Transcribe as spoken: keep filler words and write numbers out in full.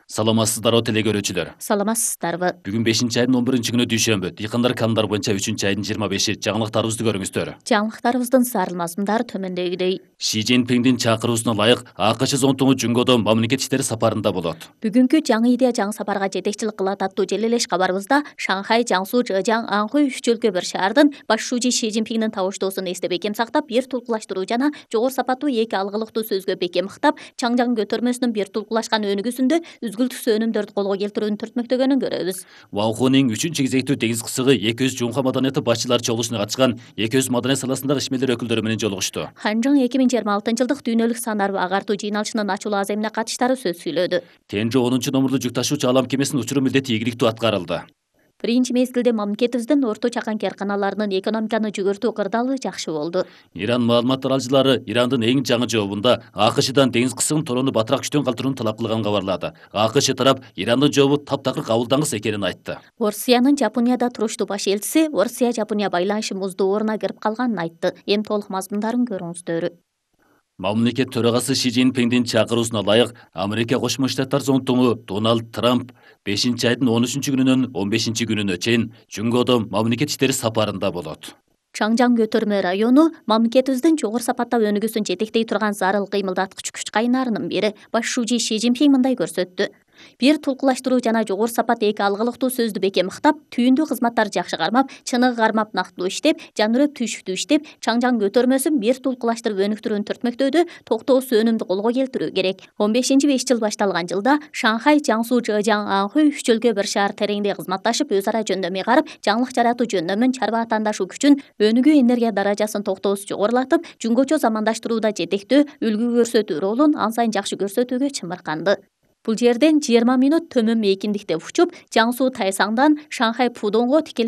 Саламатсыздарбы теле көрүүчүлөр. Саламатсыздарбы. Бүгүн бешинчи айдын он биринчи күнү дүйшөмбү. Дыйкандар канундар боюнча үчүнчү айдын жыйырма беши. Жаңылыктарыбызды көрүңүздөр. Жаңылыктарыбыздын сарыл мазмундары төмөндөгүдөй. Ши Цзиньпиндин чакыруусуна ылайык АКШ зонтугу Жунгодо мамлекет иштери сапарында болот. Бүгүнкү жаңы идея жаңы сапарга жетекчилик кылат аттуу желелеш кабарыбызда Шанхай, Жаңсу, Жэжяң, Анхуй үч өлкө бир шаардын баш шүүжү Ши Цзиньпиндин табыштоосун эсте бекем сактап, бир тулкулаштыруу жана жогору сапаттуу эки алгылыктуу сөзгө бекем ыктап, Чаңжаң көтөрмөсүнүн бир тулкулашкан өнүгүүсүндө үзгүлтүксүз өнүмдөрдү колго келтирүүнү түртмөктөгөнүн көрөбүз. Ваухунин үчүнчү кезектүү деңиз кысыгы эки жүз жумка маданияты башчылары чогулушуна катышкан эки жүз маданият саласындагы ишмерлер өкүлдөрү менен жолугушту. Ханжаң эки миң жыйырма алтынчы жылдык дүйнөлүк санар агартуу жыйналышынын ачуулуу аземине катыштары сөз сүйлөдү. Тенжо онунчу номурлуу жүк ташуучу алам кемесинин учуруу милдети ийгиликтүү аткарылды. Биринчи мезгилде мамлекетибиздин орто чакан керканаларынын экономиканы жүгөртүү кырдаалы жакшы болду. Иран маалымат таралчылары Ирандын эң жаңы жообунда АКШдан деңиз кысыгын толоону батыраак күчтөн калтырууну талап кылганын кабарлады. АКШ тарап Ирандын жообу таптакыр кабылдангыс экенин айтты. Орусиянын Жапонияда туруштуу баш элчиси Орусия-Жапония байланышы муздууруна кирип калганын айтты. Эми толук мазмундарын көрүңүздөр. Мамлекет төрагасы Ши Цзиньпиндин чакыруусуна ылайык Америка Кошмо Штаттар зонтугу Дональд Трамп бешинчи айдын он үчүнчү күнүнөн он бешинчи күнүнө чейин Жунгодо мамлекет иштери сапарында болот. Чаңжаң көтөрмө району мамлекетибиздин жогору сапаттап өнүгүүсүн жетектей турган зарыл кыймылдаткыч күч кайнарынын бири. Баш шүүжү Ши Цзиньпин мындай көрсөттү. Бир тулкулаштыруу жана жогору сапат эки алгылыктуу сөздү бекем ыктап, түйүндүү кызматтарды жакшы кармап, чыныгы кармап нактылуу иштеп, жанырып түйшүктүү иштеп, Чаңжаң көтөрмөсүн бир тулкулаштырып өнүктүрүүнү түртмөктөөдө токтоосуз өнүмдү колго келтирүү керек. он бешинчи беш жыл башталган жылда Шанхай, Жаңсу, Жэжяң, Анхуй үч өлкө бир шаар тереңдей кызматташып, өз ара жөндөм ыйгарып, жаңылык жаратуу жөндөмүн, чарба атаандашуу күчүн, өнүгүү энергия даражасын токтоосуз жогорулатып, жумгочо замандаштырууда жетектөө, үлгү көрсөтүү ролун ан сайын жакшы көрсөтүүгө чымырканды. Бул жерден жыйырма мүнөт төмөн мейкиндикте учуп, Жаңсу Тайсаңдан Шанхай Пудонго тикелей